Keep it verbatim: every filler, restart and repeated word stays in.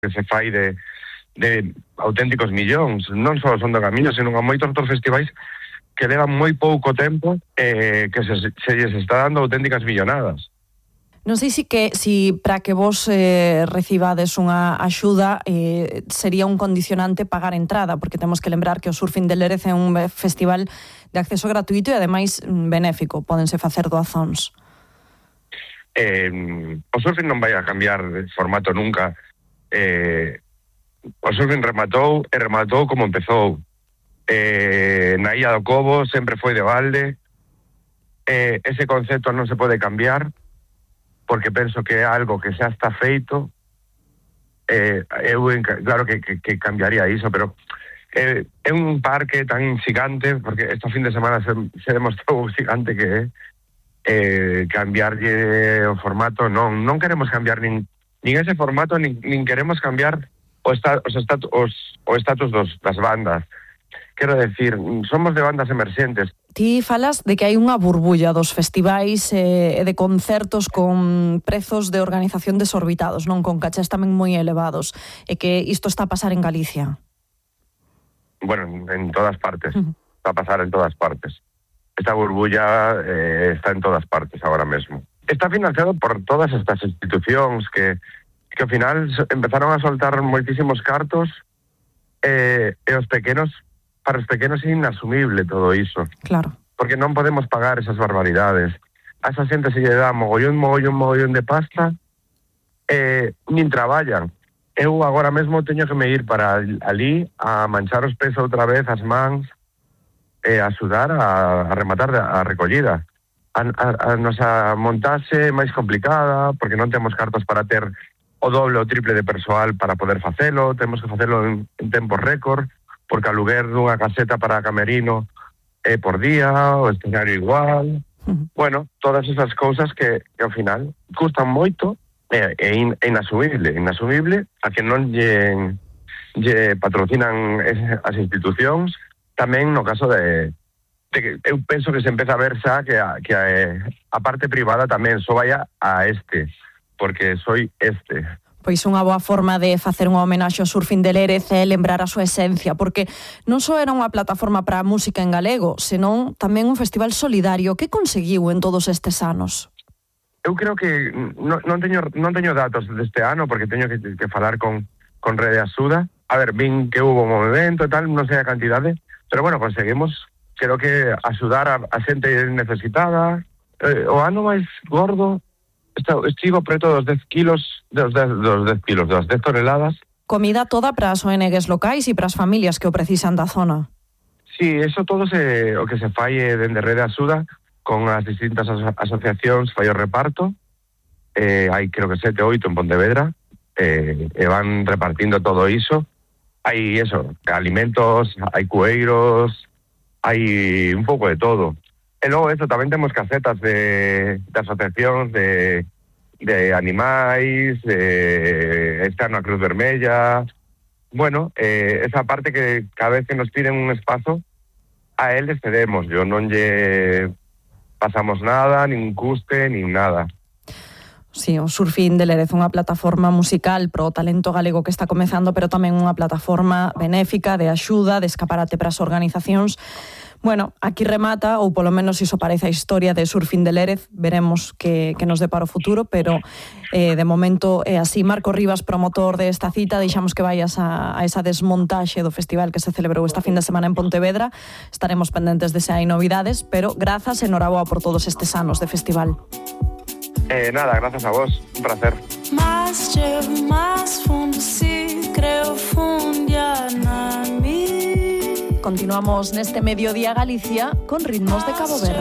que se fai de, de auténticos millóns, non só son do Camiño, senón a moitos outros festivais que levan moi pouco tempo eh, que se, se lles está dando auténticas millonadas. Non sei si que si para que vos eh, recibades unha axuda eh, sería un condicionante pagar entrada, porque temos que lembrar que o Surfing de Lérez é un festival de acceso gratuito e ademais benéfico, pódense facer doazóns. Eh, o surfing non vai a cambiar de formato nunca. Eh, o surfing rematou e rematou como empezou. Eh, na Illa do Cobo sempre foi de balde. Eh, ese concepto non se pode cambiar, porque penso que é algo que xa está feito. Eh, eu, claro que, que, que cambiaría iso, pero eh, é un parque tan xigante, porque este fin de semana se, se demostrou o xigante que é, eh, cambiarlle o formato, non non queremos cambiar nin, nin ese formato, nin, nin queremos cambiar o, esta, os estatu, os, o estatus dos, das bandas. Quero decir, somos de bandas emerxentes. Ti falas de que hai unha burbulla dos festivais e eh, de concertos con prezos de organización desorbitados, non, con cachés tamén moi elevados, e que isto está a pasar en Galicia. Bueno, en todas partes, uh-huh. Está a pasar en todas partes. Esta burbulla eh, está en todas partes ahora mesmo. Está financiado por todas estas institucións que, que ao final empezaron a soltar moitísimos cartos eh, e os pequenos, para os pequenos é inasumible todo iso. Claro. Porque non podemos pagar esas barbaridades. A esa xente se lle dá mogollón, mogollón, mogollón de pasta e eh, nin traballan. Eu agora mesmo teño que me ir para ali a manchar os pés outra vez, as mans, e a axudar a, a rematar a recollida. A, a, a nosa montaxe é máis complicada, porque non temos cartos para ter o doble ou triple de persoal para poder facelo, temos que facelo en, en tempo récord, porque aluguer dunha caseta para camerino é por día, o escenario igual. Uh-huh. Bueno, todas esas cousas que, que ao final custan moito e é in, inasumible, inasumible a que non lle, lle patrocinan as institucións. Tamén no caso de, de que eu penso que se empeza a ver xa que a, que a, a parte privada tamén só vaya a este, porque soy este. Pois unha boa forma de facer unha homenaxe ao Surfing de Lérez é lembrar a súa esencia, porque non só era unha plataforma para a música en galego, senón tamén un festival solidario. Que conseguiu en todos estes anos? Eu creo que non, non, teño, non teño datos deste ano, porque teño que, que falar con, con Rede Axuda. A ver, vin que hubo un movimento e tal, non sei a cantidade, pero bueno, conseguimos, creo que axudar a, a xente necesitada. Eh, o ano máis gordo estivo preto dos dez kilos, dos dez, dos dez kilos, das dez toneladas. Comida toda para as O N Ges locais e para as familias que o precisan da zona. Sí, eso todo se, o que se fai dende Rede Axuda con as distintas aso asociacións, fai o reparto. Eh, hai creo que sete, oito en Pontevedra, eh, e van repartindo todo iso. Hai eso, alimentos, hai cueiros, hai un pouco de todo. E logo eso, tamén temos casetas de, de asociacións de, de animais, de, está na Cruz Vermella. Bueno, eh, esa parte que cada vez que nos piden un espazo, a eles cedemos. Yo non lle pasamos nada, nin custe, nin nada. Sí, o Surfing de Lérez, unha plataforma musical pro talento galego que está comezando, pero tamén unha plataforma benéfica de axuda, de escaparate para as organizacións. Bueno, aquí remata, ou polo menos iso parece a historia de Surfing de Lérez. Veremos que, que nos depara o futuro, pero eh, de momento é así. Marco Rivas, promotor desta cita, deixamos que vayas a, a esa desmontaxe do festival que se celebrou esta fin de semana en Pontevedra. Estaremos pendentes de se hai novidades, pero grazas e noraboa por todos estes anos de festival. Eh, nada, gracias a vos, un placer. Más llevo, más fundo, si creo fundia na mi. Continuamos neste Mediodía Galicia con ritmos de Cabo Verde.